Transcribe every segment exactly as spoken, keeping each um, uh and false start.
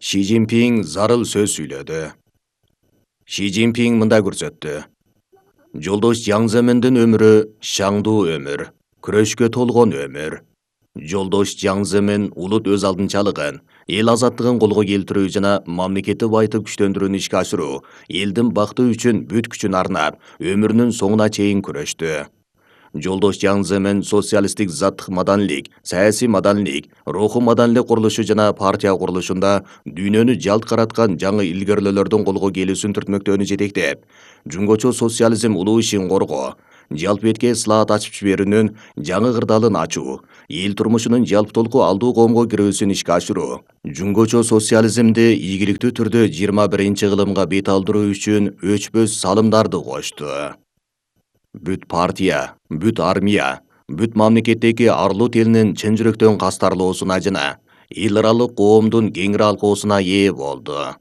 Ши Цзиньпин зарыл сөз сүйлөдү. Ши Цзиньпин мындай көрсөттү. Жолдош Жаң Земендин өмүрү шаңдуу өмүр, күрөшкө толгон өмүр. Жолдош Жаң Земен улут өз алдынчалыгын, эл азаттыгын колго келтирүү жана мамлекетти байытып күчтөндүрүүнү ишке ашыруу, элдин бакыты үчүн бүт күчүн арнап, өмүрүнүн соңуна чейин күрөштү. Жолдош Жаң Земен социалисттик заттык маданилик, саясий маданилик, руху маданилик курулушу жана партия курулушунда дүйнөнү жалт караткан жаңы илгерүүлөрдүн колго келүүсүн түртмөктөөнү жетектеп, жумгочу социализм улуу ишин коргоо, жалпы этке ыслаат ачып жиберүүнүн жаңы кырдаалын ачуу, эл турмушунун жалптолку алдуу коомго кирүүсүн ишке ашыруу, жумгочу социализмди ийгиликтүү түрдө жыйырма биринчи кылымга бет алдыруу үчүн өчпөс салымдарды кошту. Бүт партия, бүт армия, бүт мамлекеттеги арлуу элинин чын жүрөктөн кастарлоосуна жана эл аралык коомдун кеңири алкоосуна ээ болду.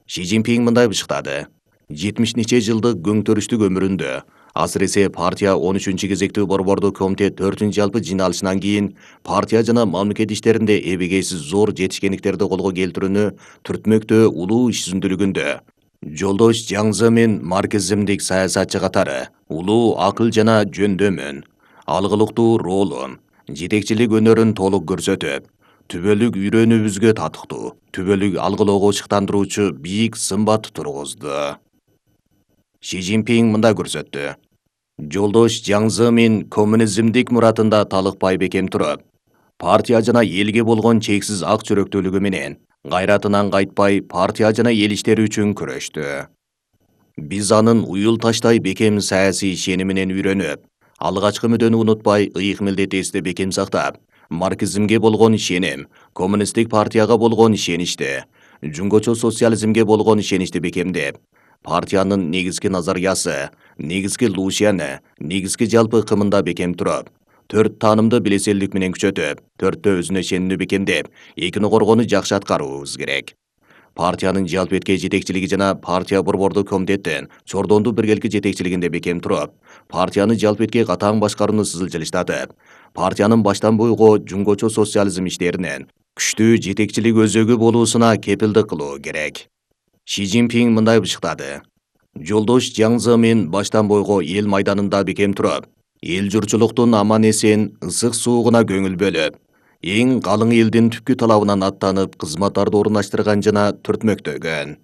Ши Цзиньпин мындай бышыктады. жетимиш нече жылдык көңтөрүштүк өмүрүндө, асыресе партия он үчүнчү кезектүү борбордук комитет төртүнчү жалпы жыйналышынан кийин партия жана мамлекет иштеринде эбегейсиз зор жетишкендиктерди колго келтирүүнү түртмөктөө улуу иш жүзүндүүлүгүндө Жолдош Жаң Земен марксизмдик саясатчы катары улуу акыл жана жөндөмүн, алгылыктуу ролун, жетекчилик өнөрүн толук көрсөтүп, түбөлүк үйрөнүүбүзгө татыктуу, түбөлүк алгылоого ышыктандыруучу бийик сымбат тургузду. Ши Цзиньпин мындай көрсөттү. Жолдош Жаң Земен коммунизмдик муратында талыкпай бекем туруп, партия жана элге болгон чексиз ак жүрөктүүлүгү менен кайратынан кайтпай партия жана эл иштери үчүн күрөштү. Биз анын уюл таштай бекем саясий ишениминен үйрөнүп, алгачкы мүдөнү унутпай ыйык милдет эсте бекем сактап, марксизмге болгон ишеним, коммунисттик партияга болгон ишеничти, жумгочу социализмге болгон ишеничти бекемдеп, партиянын негизги назариясы, негизги лушияны, негизги жалпы ыкымында бекем туруп, төрт таанымды билеселдик менен күчөтүп, төрттө өзүнө ишенүүнү бекемдеп, экини коргоону жакшы аткаруубуз керек. Партиянын жалпы этке жетекчилиги жана партия борбордук комитеттин чордондуу биргелки жетекчилигинде бекем туруп, партияны жалпы этке катаң башкарууну сызылчылыштатып, партиянын баштан бойго жумгочу социализм иштеринен күчтүү жетекчилик өзөгү болуусуна кепилдик кылуу керек. Ши Цзиньпин мындай бышыктады. Жолдош Жаң Земен баштан бойго эл майданында бекем туруп, эл журтчулуктун аман эсен, ысык суугуна көңүл бөлүп, эң калың элдин түпкү талабынан аттанып кызматтарды орундаштырган жана түртмөктөгөн.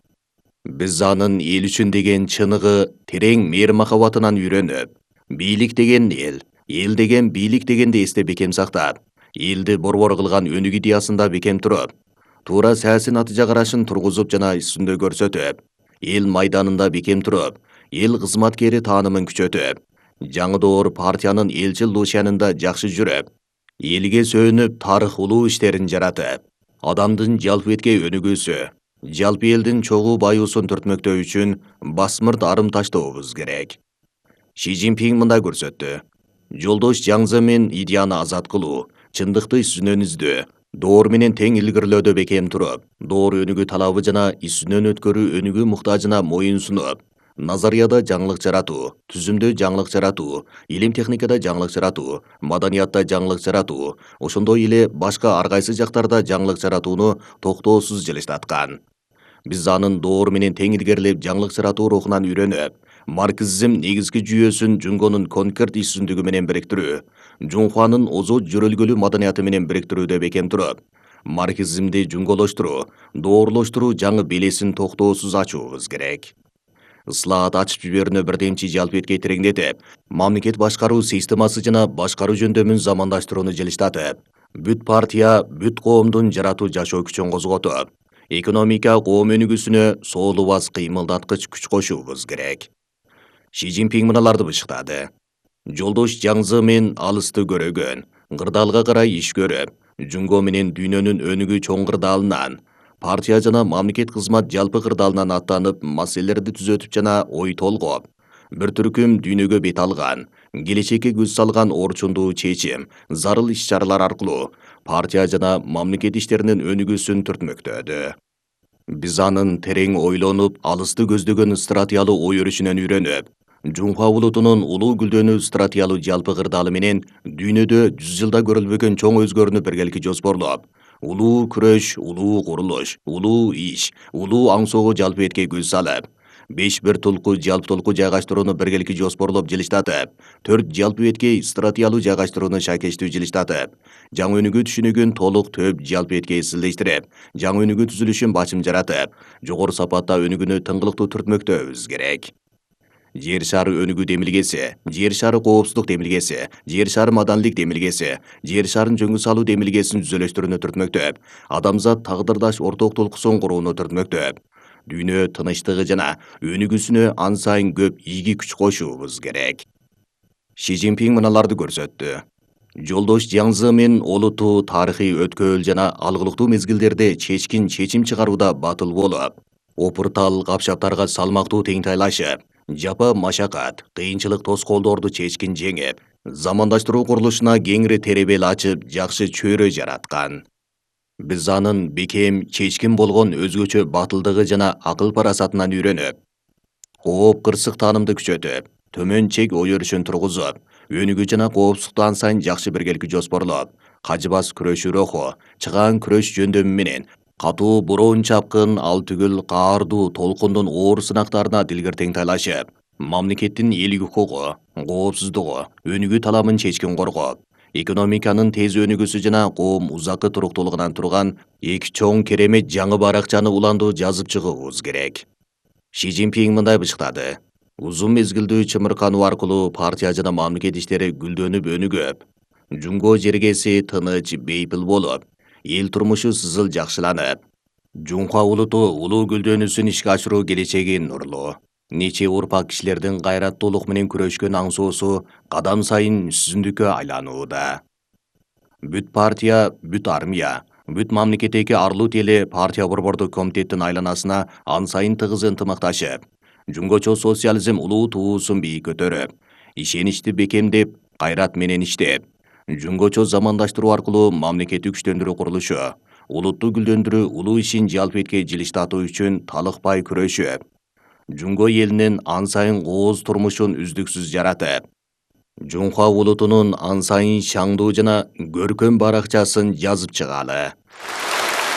Биз анын эл үчүн деген чыныгы, терең мээри махаббатынан үйрөнүп, бийлик деген эл, эл деген бийлик дегенди эсте бекем сактап, элди борбор кылган өнүк идеясында бекем туруп, туура саясий натыйжа карашын тургузуп жана үстүндө көрсөтүп, эл майданында бекем туруп, эл кызматкери таанымын күчөтүп, жаңы доор партиянын элчил лушиянында жакшы жүрүп, элге сөөнүп тарых улуу иштерин жаратып, адамдын жалпы этке өнүгүүсү, жалпы элдин чогуу баюусун түртмөктөө үчүн басмырт арым таштообуз керек. Ши Цзиньпин мындай көрсөттү. Жолдош Жаң Земен идеяны азат кылуу, чындыкты үстүнөн издөө, доор менен тең илгирлөөдө бекем туруп, доор өнүгүү талабы жана үстүнөн өткөрүү өнүгүү муктажына моюн сунуп, назарияда жаңылык жаратуу, түзүмдө жаңылык жаратуу, илим техникада жаңылык жаратуу, маданиятта жаңылык жаратуу, ошондой эле башка ар кайсы жактарда жаңылык жаратууну токтоосуз жылыштаткан. Биз анын доор менен тең илгерилеп жаңылык жаратуу рухунан үйрөнүп, марксизм негизги жүйөсүн Жунгонун конкерт иш жүзүндүгү менен бириктирүү, Жунхуанын озот жөрөлгөлүү маданияты менен бириктирүүдө бекем туруп, марксизмди жунголоштуруу, доорлоштуруу жаңы белесин токтоосуз ачуубуз керек. Ыслаат ачып жиберүүнү бирдемчи жалпы этке тереңдетип, мамлекет башкаруу системасы жана башкаруу жөндөмүн замандаштырууну жылыштатып, бүт партия, бүт коомдун жаратуу жашоо күчүн козготуп, экономика коом өнүгүүсүнө соолубас кыймылдаткыч күч кошуубуз керек. Ши Цзиньпин мыналарды бышыктады. Жолдош Жаң Земен алысты көрөгөн, кырдаалга карай иш көрүп, жунго менен дүйнөнүн өнүгүү чоң кырдаалынан, партия жана мамлекет кызмат жалпы кырдаалынан аттанып маселелерди түзөтүп жана ой толгоп, бир түркүм дүйнөгө бет алган, келечекке көз салган орчундуу чечим, зарыл иш чаралар аркылуу партия жана мамлекет иштеринин өнүгүүсүн түртмөктөдү. Биз анын терең ойлонуп, алысты көздөгөн стратегиялуу ой өрүшүнөн үйрөнүп, Жунхуа улутунун улуу гүлдөнүү стратегиялуу жалпы кырдаалы менен дүйнөдө жүз жылда көрүлбөгөн чоң өзгөрүүнү биргелики жоспорлоп, улуу күрөш, улуу курулуш, улуу иш, улуу аңсоого жалпы этке көз салып, беш бир толку жалпы толку жайгаштырууну биргеликти жоспорлоп жылыштатып, төрт жалпы этке стратегиялуу жайгаштырууну шакештүү жылыштатып, жаңы өнүгүү түшүнүгүн толук төп жалпы этке сиздештирип, жаңы өнүгүү түзүлүшүн бачым жаратып, жогору сапатта өнүгүүнү тыңгылыктуу түртмөктөбүз керек. Жер шары өнүгүү демилгеси, жер шары коопсуздук демилгеси, жер шары маданилик демилгеси, жер шарын жөнгө салуу демилгесин түзөлөштөрүнө түртмөктөп, адамзат тагдырдаш орток толкусун курууну түртмөктөп, дүйнө тынычтыгы жана өнүгүүсүнө ан сайын көп ийги күч кошуубуз керек. Ши Цзиньпин мыналарды көрсөттү. Жолдош Жаң Зымын олуттуу тарыхый өткөөл жана алгылыктуу мезгилдерде чечкин чечим чыгарууда батыл болуп, опуртал капшаптарга салмактуу теңтайлашып, жапа машакат, кыйынчылык тоскоолдорду чечкин жеңип, замандаштыруу курулушуна кеңири теребел ачып, жакшы чөйрө жараткан. Биз анын бекем, чечкин болгон өзгөчө батылдыгы жана акыл парасатынан үйрөнүп, кооп кырсык таанымды күчөтүп, төмөн чек ой өрүшүн тургузуп, өнүгүү жана коопсуздукту ан сайын жакшы биргеликти жоспорлоп, кажыбас күрөшүү руху, чыгаан күрөш жөндөмү менен катуу буроон чапкын ал түгүл каардуу толкундун оор сынактарына дилгир теңтайлашып, мамлекеттин элдик укугу, коопсуздугу, өнүгүү таламын чечкин коргоп, экономиканын тез өнүгүүсү жана коом узаккы туруктуулугунан турган эки чоң керемет жаңы баракчаны уландуу жазып чыгуубуз керек. Ши Цзиньпин мындай бычыктады. Узун мезгилдүү чымыркануу аркылуу партия жана мамлекет иштери гүлдөнүп өнүгөп, жумго жергеси тыныч, бейпил болуп, эл турмушу сызыл жакшыланып, Жунхва улуту улуу гүлдөнүүсүн ишке ашыруу келечеги нурлуу. Нече урпак кишилердин кайраттуулук менен күрөшкөн аңсоосу кадам сайын сүзүндүккө айланууда. Бүт партия, бүт армия, бүт мамлекеттеги арлуу теле партия борбордук комитеттин айланасына ан сайын тыгыз ынтымакташып, жумгочо социализм улуу туусун бийик көтөрүп, ишеничти бекемдеп, кайрат менен иштеп, жумгочо замандаштыруу аркылуу мамлекетти күчтөндүрүү курулушу, улутту гүлдөндүрүү улуу ишин жалпы этке жылыштатуу үчүн талыкпай күрөшүп, жумго элинин ан сайын кооз турмушун үздүксүз жаратып, Жунхва улутунун ан сайын шаңдуу жана көркөм баракчасын жазып чыгалы.